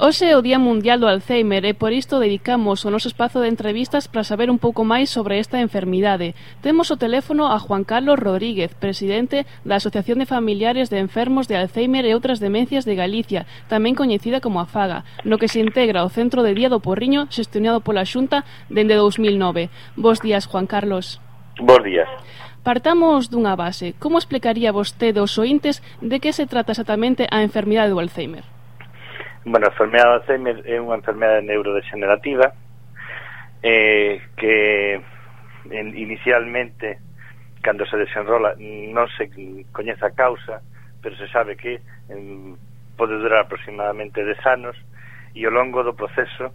Hoxe é o Día Mundial do Alzheimer e por isto dedicamos o noso espazo de entrevistas para saber un pouco máis sobre esta enfermidade. Temos o teléfono a Juan Carlos Rodríguez, presidente da Asociación de Familiares de Enfermos de Alzheimer e outras demencias de Galicia, tamén coñecida como a FAGA, no que se integra o Centro de Día do Porriño xestionado pola Xunta dende 2009. Bos días, Juan Carlos. Bos días. Partamos dunha base. Como explicaría vostede aos ointes de que se trata exactamente a enfermidade do Alzheimer? Bueno, a enfermedade do Alzheimer é unha enfermedade neurodegenerativa que inicialmente, cando se desenrola, non se coñece a causa, pero se sabe que pode durar aproximadamente 10 anos e ao longo do proceso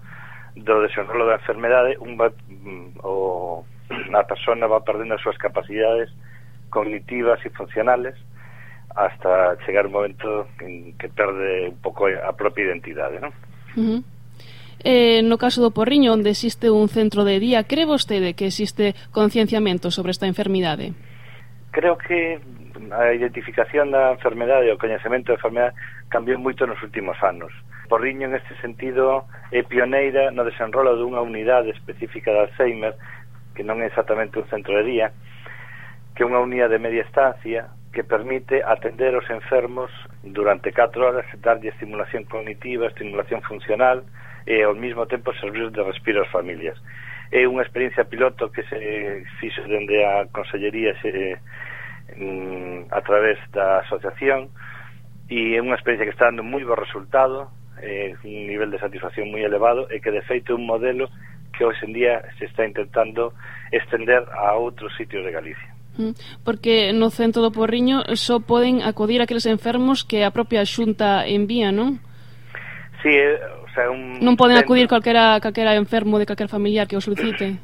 do desenrolo da enfermedade a persona va perdendo as súas capacidades cognitivas e funcionales hasta chegar un momento en que perde un pouco a propia identidade, non? No caso do Porriño, onde existe un centro de día, cree vostede que existe concienciamento sobre esta enfermidade? Creo que a identificación da enfermedade, o coñecemento da enfermedade cambiou moito nos últimos anos. Porriño, en este sentido, é pioneira no desenrolo dunha unidade específica de Alzheimer, que non é exactamente un centro de día, que é unha unidade de media estancia que permite atender aos enfermos durante 4 horas, darlle estimulación cognitiva, estimulación funcional e ao mesmo tempo servir de respiro ás familias. É unha experiencia piloto que se fixo dende a Consellería a través da asociación e é unha experiencia que está dando moi bo resultado, un nivel de satisfacción moi elevado e que de feito é un modelo que hoxe en día se está intentando extender a outros sitios de Galicia. Porque no centro do Porriño só poden acudir aqueles enfermos que a propia Xunta envía, non? Sí, o sea, non poden acudir calquera enfermo de calquer familiar que o solicite.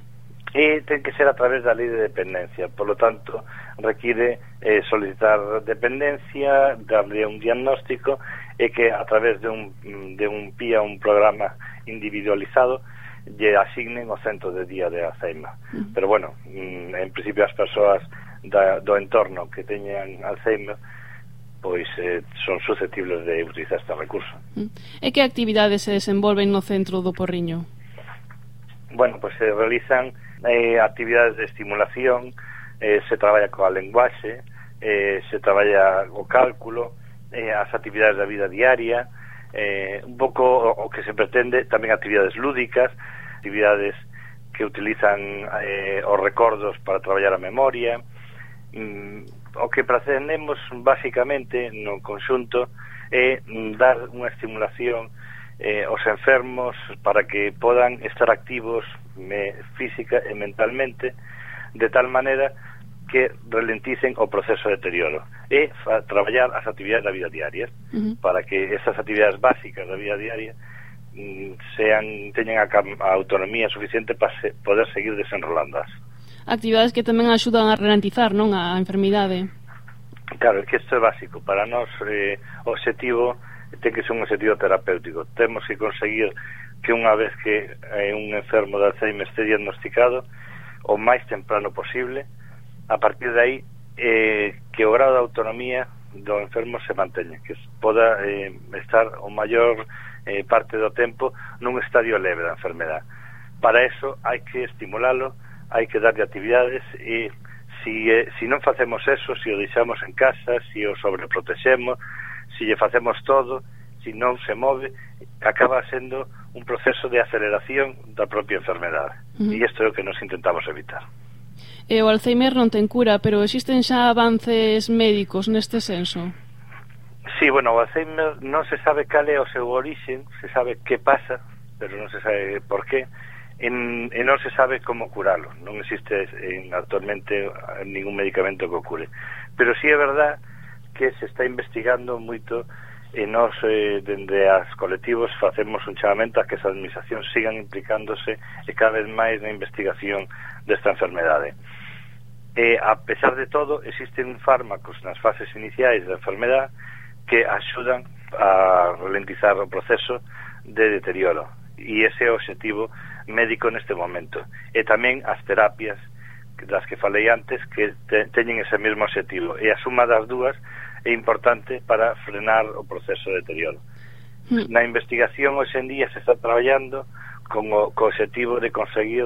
Ten que ser a través da lei de dependencia, por lo tanto require solicitar dependencia, darle un diagnóstico e que a través de un PIA, un programa individualizado, lle asignen o centro de día de Alzheimer. Pero bueno, en principio as persoas do entorno que teñan Alzheimer pois son susceptibles de utilizar este recurso. E que actividades se desenvolven no centro do Porriño? Bueno, pois se realizan actividades de estimulación, se traballa coa lenguaxe, se traballa o cálculo, as actividades da vida diaria, un pouco o que se pretende, tamén actividades lúdicas, actividades que utilizan os recordos para traballar a memoria. O que pretendemos basicamente no conxunto é dar unha estimulación aos enfermos para que podan estar activos física e mentalmente de tal maneira que ralenticen o proceso de deterioro e traballar as actividades da vida diaria para que esas actividades básicas da vida diaria teñan a autonomía suficiente para poder seguir desenrolándoas. Actividades que tamén axudan a ralentizar, non, a enfermidade. Claro, é que isto é básico. Para nós o objetivo ten que ser un objetivo terapéutico. Temos que conseguir que unha vez que un enfermo de Alzheimer este diagnosticado o máis temprano posible, a partir de aí que o grado de autonomía do enfermo se manteña, que poda estar o maior parte do tempo nun estadio leve da enfermedade. Para eso hai que estimulalo, hai que darlle actividades e si non facemos eso, si o deixamos en casa, si o sobreprotexemos, si lle facemos todo, si non se move, acaba sendo un proceso de aceleración da propia enfermedade. E isto é o que nos intentamos evitar. O Alzheimer non ten cura, pero existen xa avances médicos neste senso? Sí, bueno, o Alzheimer non se sabe cal é o seu orixen, se sabe que pasa, pero non se sabe por qué, e non se sabe como curalo. Non existe actualmente ningún medicamento que o cure. Pero sí é verdad que se está investigando moito e nós, dende as colectivos, facemos un chamamento a que as administracións sigan implicándose e cada vez máis na investigación desta enfermedade. A pesar de todo, existen fármacos nas fases iniciais da enfermedade que axudan a ralentizar o proceso de deterioro. E ese é o objetivo médico neste momento. E tamén as terapias das que falei antes que teñen ese mesmo objetivo. E a suma das dúas é importante para frenar o proceso de deterioro. Na investigación hoxe en día se está traballando con o objetivo de conseguir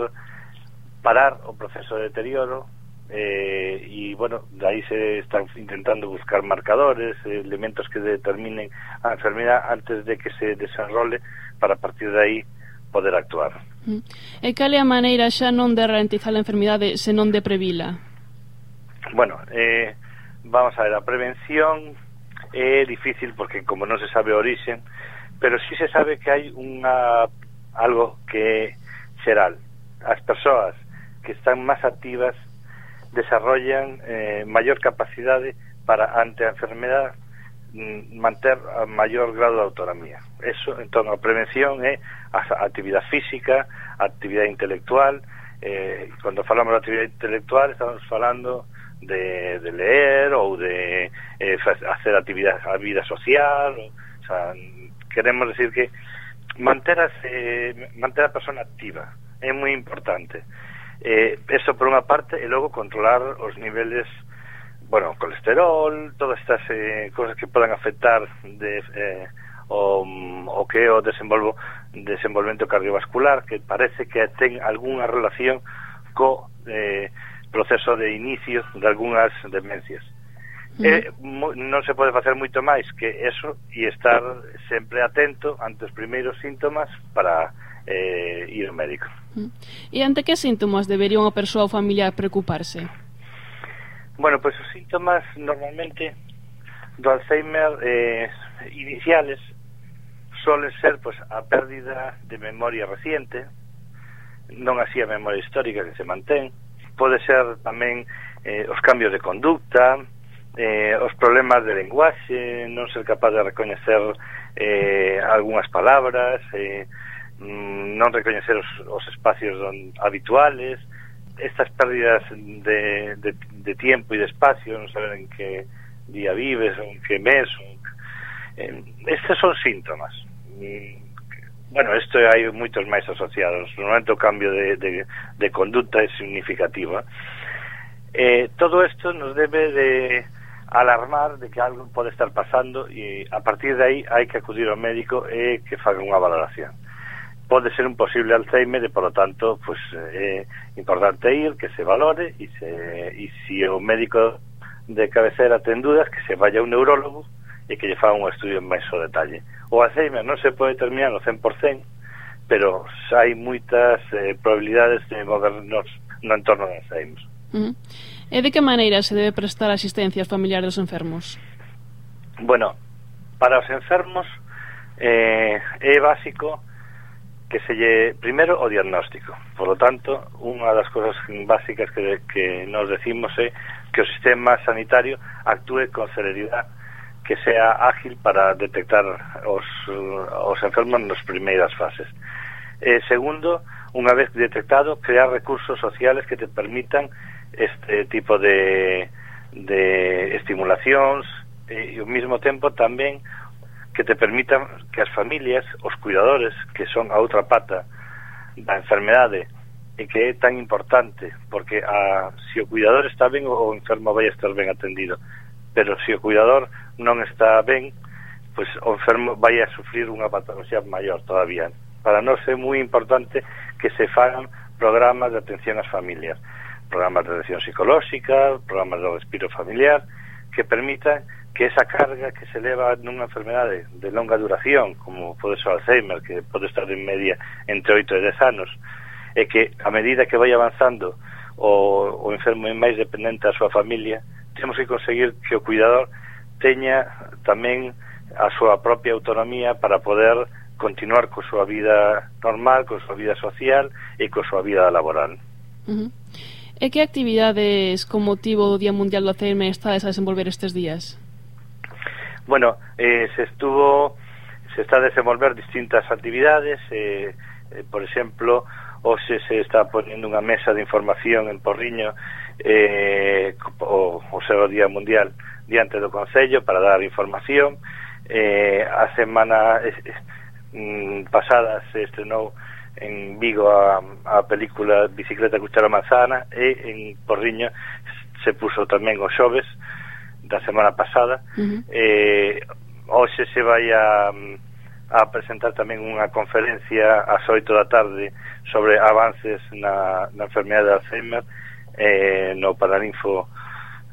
parar o proceso de deterioro, e, bueno, de aí se están intentando buscar marcadores, elementos que determinen a enfermedad antes de que se desenrole, para a partir de aí poder actuar. E cal é a maneira xa non de ralentizar a enfermidade, senón de previla? Bueno, vamos a ver, a prevención é difícil porque como non se sabe o origen, pero sí se sabe que hai algo que é xeral. As persoas que están máis activas desarrollan maior capacidade para, ante a enfermedade, manter a maior grado de autonomía. Eso, entón, a prevención é a actividade física, a actividade intelectual. Cando falamos de actividade intelectual estamos falando de leer ou de hacer actividade, a vida social, o sea, queremos decir que manter a persona activa é moi importante. Eso por unha parte, e logo controlar os niveles, bueno, colesterol, todas estas cosas que podan afectar o que é o desenvolvemento cardiovascular, que parece que ten algunha relación co proceso de inicio de algunhas demencias. Non se pode facer moito máis que eso, e estar sempre atento ante os primeiros síntomas para ir ao médico. E ante que síntomas debería unha persoa ou familiar preocuparse? Bueno, pois os síntomas normalmente do Alzheimer iniciales solen ser pois a pérdida de memoria reciente, non así a memoria histórica que se mantén. Pode ser tamén os cambios de conducta, os problemas de lenguaxe, non ser capaz de recoñecer algunhas palabras, non recoñecer os espacios habituales, estas pérdidas de tiempo e de espacio, non saber en que día vives, ou en que mes, estes son síntomas. Bueno, isto hai moitos máis asociados. Normalmente o cambio de conducta é significativo. Todo isto nos debe de alarmar de que algo pode estar pasando, e a partir de aí hai que acudir ao médico e que faga unha valoración. Pode ser un posible Alzheimer e, por lo tanto, pues, é importante ir, que se valore, e se o médico de cabecera ten dudas, que se vaya a un neurólogo e que lle faga un estudio en máis o detalle. O Alzheimer non se pode determinar no 100%, pero hai moitas probabilidades de movernos no entorno de Alzheimer. E de que maneira se debe prestar asistencia aos familiares dos enfermos? Bueno, para os enfermos é básico que se lle primeiro o diagnóstico. Por lo tanto, unha das cousas básicas que nos decimos é que o sistema sanitario actúe con celeridade, que sea ágil para detectar os enfermos nas primeiras fases. Segundo, unha vez detectado, crear recursos sociales que te permitan este tipo de estimulacións, e ao mesmo tempo tamén que te permitan que as familias, os cuidadores, que son a outra pata da enfermedade, e que é tan importante, porque se o cuidador está ben, o enfermo vai estar ben atendido, pero se o cuidador non está ben, pues o enfermo vai a sufrir unha patoloxía maior todavía. Para nós é moi importante que se fagan programas de atención ás familias, programas de atención psicolóxica, programas de respiro familiar, que permitan que esa carga que se leva nunha enfermedade de longa duración, como pode ser o Alzheimer, que pode estar en media entre 8 e 10 anos, e que a medida que vai avanzando o enfermo é máis dependente da súa familia, temos que conseguir que o cuidador teña tamén a súa propia autonomía para poder continuar coa súa vida normal, coa súa vida social e coa súa vida laboral. E que actividades con motivo do Día Mundial do Alzheimer estades a desenvolver estes días? Bueno, se está a desenvolver distintas actividades, por exemplo, hoxe se está ponendo unha mesa de información en Porriño o seu Día Mundial diante do Concello para dar información. A semana pasada se estrenou en Vigo a película Bicicleta, Cuchara, Manzana, e en Porriño se puso tamén os xoves da semana pasada. Hoxe se vai a a presentar tamén unha conferencia ás 8 da tarde sobre avances na enfermedade de Alzheimer no Paraninfo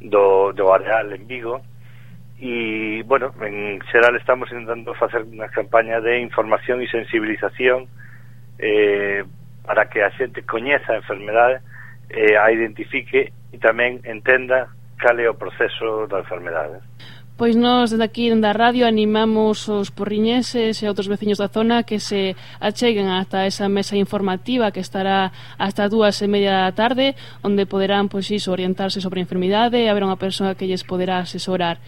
do Areal en Vigo. E, bueno, en xeral estamos intentando facer unha campaña de información e sensibilización para que a xente coñeza a enfermedade, a identifique e tamén entenda cal é o proceso da enfermedade. Pois nós, desde aquí da radio, animamos os porriñeses e outros veciños da zona que se acheguen hasta esa mesa informativa que estará hasta 2:30 da tarde, onde poderán, pois iso, orientarse sobre a enfermidade e haber unha persoa que lles poderá asesorar.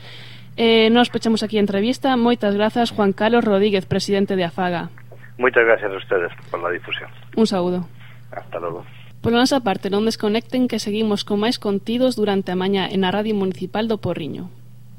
Nós pechamos aquí a entrevista. Moitas grazas, Juan Carlos Rodríguez, presidente de AFAGA. Moitas gracias a ustedes por la difusión. Un saúdo. Hasta logo. Pola nosa parte, non desconecten que seguimos con máis contidos durante a mañá en a Radio Municipal do Porriño.